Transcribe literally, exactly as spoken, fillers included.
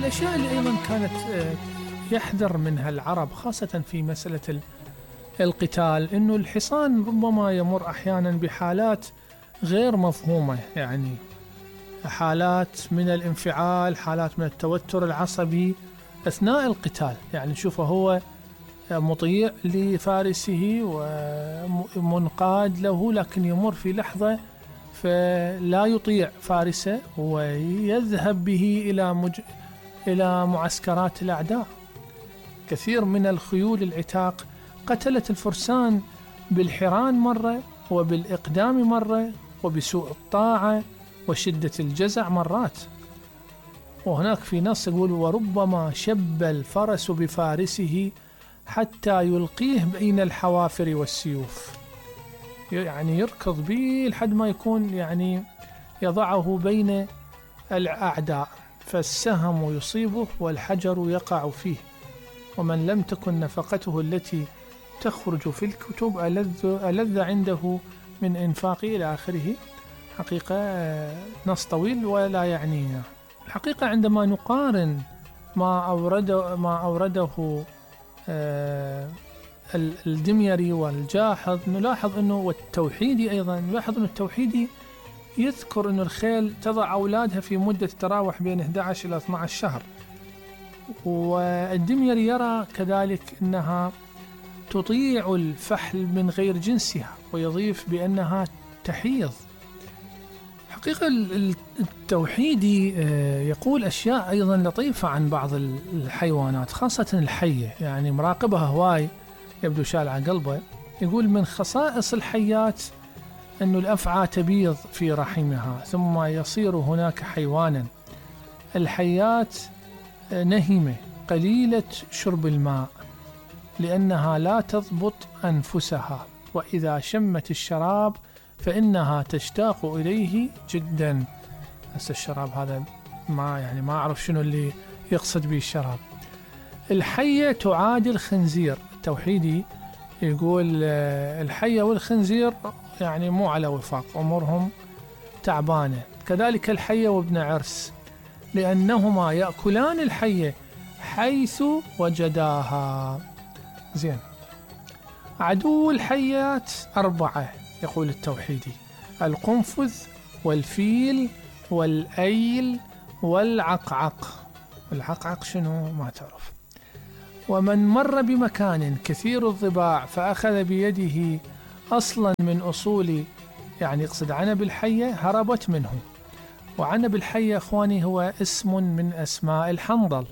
الأشياء اللي أيضا كانت يحذر منها العرب خاصة في مسألة القتال إنه الحصان ربما يمر أحيانا بحالات غير مفهومة، يعني حالات من الانفعال، حالات من التوتر العصبي أثناء القتال. يعني شوفه هو مطيع لفارسه ومنقاد له، لكن يمر في لحظة فلا يطيع فارسه ويذهب به إلى مج... إلى معسكرات الأعداء. كثير من الخيول العتاق قتلت الفرسان بالحران مرة، وبالإقدام مرة، وبسوء الطاعة وشدة الجزع مرات. وهناك في نص يقول: وربما شب الفرس بفارسه حتى يلقيه بين الحوافر والسيوف. يعني يركض به لحد ما يكون يعني يضعه بين الأعداء، فالسهم يصيبه والحجر يقع فيه. ومن لم تكن نفقته التي تخرج في الكتب ألذ, ألذ عنده من إنفاق إلى آخره. حقيقة نص طويل ولا يعنينا. الحقيقة عندما نقارن ما أورده, ما أورده الدميري والجاحظ نلاحظ أنه، والتوحيدي أيضا نلاحظ أنه التوحيدي يذكر أن الخيل تضع أولادها في مدة تراوح بين أحد عشر إلى اثني عشر شهر، والدميري يرى كذلك أنها تطيع الفحل من غير جنسها، ويضيف بأنها تحيض. حقيقة التوحيدي يقول أشياء أيضا لطيفة عن بعض الحيوانات خاصة الحية، يعني مراقبها هواي يبدو شال على قلبه. يقول: من خصائص الحيات أن الأفعى تبيض في رحمها ثم يصير هناك حيوانا. الحيات نهمة قليلة شرب الماء لأنها لا تضبط أنفسها، وإذا شمت الشراب فإنها تشتاق إليه جدا. بس الشراب هذا ما يعني ما أعرف شنو اللي يقصد به الشراب. الحية تعادل خنزير. التوحيدي يقول الحية والخنزير يعني مو على وفاق، أمورهم تعبانة. كذلك الحية وابن عرس، لأنهما يأكلان الحية حيث وجداها. زين. عدو الحيات أربعة يقول التوحيدي: القنفذ والفيل والأيل والعقعق. العقعق شنو ما تعرف. ومن مر بمكان كثير الضباع فأخذ بيده أصلا من أصول، يعني يقصد عنب الحية، هربت منه. وعنب الحية أخواني هو اسم من أسماء الحنظل.